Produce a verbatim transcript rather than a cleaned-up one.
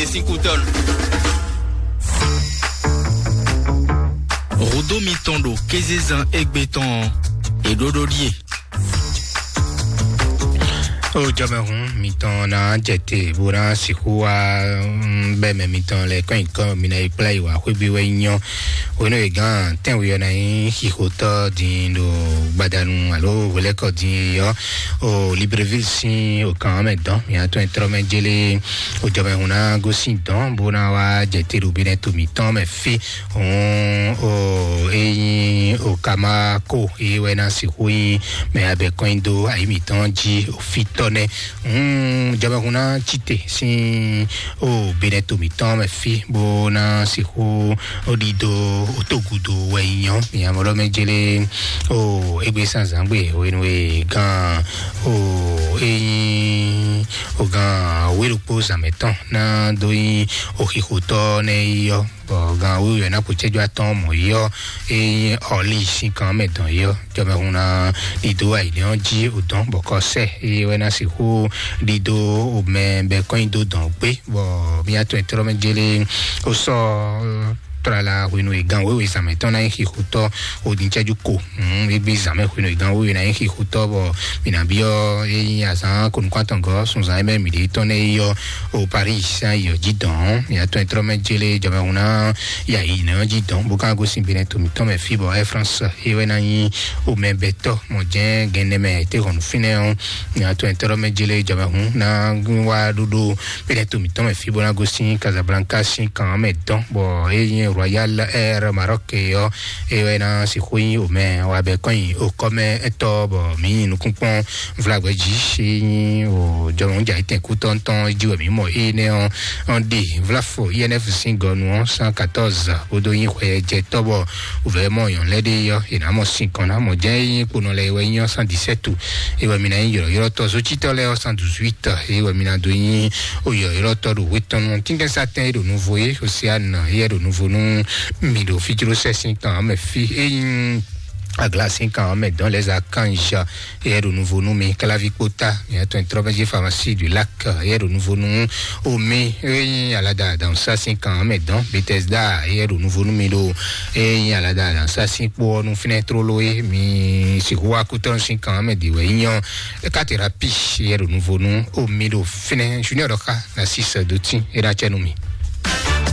Esíkútɔ́nù. Hǔdó mitɔn ɖo kézezán égbé tɔn ɔ́, è ɖó ɖó ɖíe. O jɔmɛhún mitɔn ná jɛ te bó ná sixú wá, mm, bɛ́ mɛ mitɔn lɛ kɔn nyǐkɔ mi ná yi kplá yi wá xwé bí wɛ nyɔ. Hwenu e gán tɛ́nwe ɔ́ ná nyí xixotɔ́ din ɖo gbadanu alo hwelɛ́kɔ din é ɔ́, o Libreville sín o kan ɔ́ mɛ dɔn mǐ atɔn e tlɔ́ mɛ jélé o jɔmɛhún ná gosín dɔn bó ná wá jɛ te ɖo Benɛto mǐtɔn mɛ fí. Hǔn o é nyí o Kamako é wɛ ná sixú nyí mɛ abɛ kɔn nyi dó ayǐ mǐtɔn jí o fítɔ́ nɛ́. Hmm, jɔmɛhún ná cí te sín o Benɛto mǐtɔn mɛ fí bó ná sixú ó ɖidó ó togudo wɛ nyɔ mǐamɔɖɔ mɛ jélé o égbé sanzangbe hwenu e gán o é nyí o gán wéɖokpó zǎnmɛ tɔn ná dó nyí o xixotɔ́ nɛ́ yi ɔ́. Bɔ gan wíwú ná kó cɛ́jú atɔ́ɔ́n mɔ̌ yi ɔ́, é nyí ɔlí sín kan mɛ dɔn yi ɔ́, jɔmɛhún ná ɖidó ayǐnɛ́ ɔ́ jí odɔn bɔ kɔ sɛ é wɛ ná sixú ɖidó omɛ bɛ kɔn nyi dó dɔn gbé. Bɔ mía tɔn e tlɔ́ mɛ jélé ó sɔ́ tlala hwenu e gan wéwe zǎnmɛ tɔn ná nyí xixutɔ́ odin cɛ́jú ko. Égbé zǎnmɛ hwenu e gan wéwe ná nyí xixutɔ́ bɔ mǐ ná byɔ́ é nyí azǎn konukúntɔ́ngɔ́ sunzan e mɛ mǐ ɖe tɔn nɛ́ yi ɔ́ o Paris sín ayǐ ɔ́ jí dɔn. Mǐ atɔn e tlɔ́ mɛ jélé jɔmɛhún ná ya yi nɛ́ ɔ́ jí dɔn bó ka gosín Benɛto mǐtɔn mɛ fí bɔ Air France é wɛ ná nyí omɛbɛtɔ́ mɔ jɛ́n gɛnɛ mɛ te hɔn nú fínɛ́ ɔ́. Mǐ atɔn e tlɔ́ mɛ jélé jɔmɛhún ná wá ɖóɖó Benɛto mǐtɔn mɛ fí bó ná gosín Casablanca sín kan mɛ dɔn bɔ é nyí Royal Air Maroc ɔ́ é wɛ ná sixú nyí omɛ wabɛ kɔn nyi okɔ́mɛ ɛtɔ́ bɔ mǐ nyi nukúnkpɔ́n vlagbɛ jí é nyí o jɔmɛhún jà yi tɛn kú tɔntɔn jí wɛ mǐ mɔ énɛ́ ɔ́ ɔn ɖe vlafo I N F sín gɔnu ɔ́ cent quatorze bódó nyí hwɛjɛtɔ́ bɔ wǔvɛ́ mɔ nyɔ̌nu lɛ́ɛ ɖe ɔ́ è nǎ mɔ sin kɔn ná mɔ jɛ́n é nyí kponɔ lɛ́ɛ wɛ nyí ɔ́ cent dix-sept é wɛ mi ná nyí ylɔ̌ylɔ́tɔ́ zócítɔ́ lɛ́ɛ ɔ́ cent dix-huit é wɛ mi ná dó nyí o ylɔ̌ylɔ́tɔ́ ɖo hwetɔ́nu tínkɛ́nsatɛn é ɖo nuvo é Océane é ɖo nuvo nú mi ɖo fíjlósɛ sín kan ɔ́ mɛ fí é nyí Agla sín kan ɔ́ mɛ dɔn lɛ́ zá kanzha éyɛ́ ɖo nuvo nú mi. Káláví kpótá mǐtɔn trɔ́mɛjí Pharmacie du Lac éyɛ́ ɖo nuvo nú omi éyí alada dansa sín kan ɔ́ mɛ dɔn. Bethesda éyɛ́ ɖo nuvo nú mi ɖo éyí alada dansa sín kpó ɔ́ nú fínɛ́ tlóló é mi sixú wá kútɔ́ sín kan ɔ́ mɛ ɖi wɛ nyɔ katerapi éyɛ́ ɖo nuvo nú omi ɖo fínɛ́ junior ɖɔ xá na six dó tín é ɖo acɛ nú mi.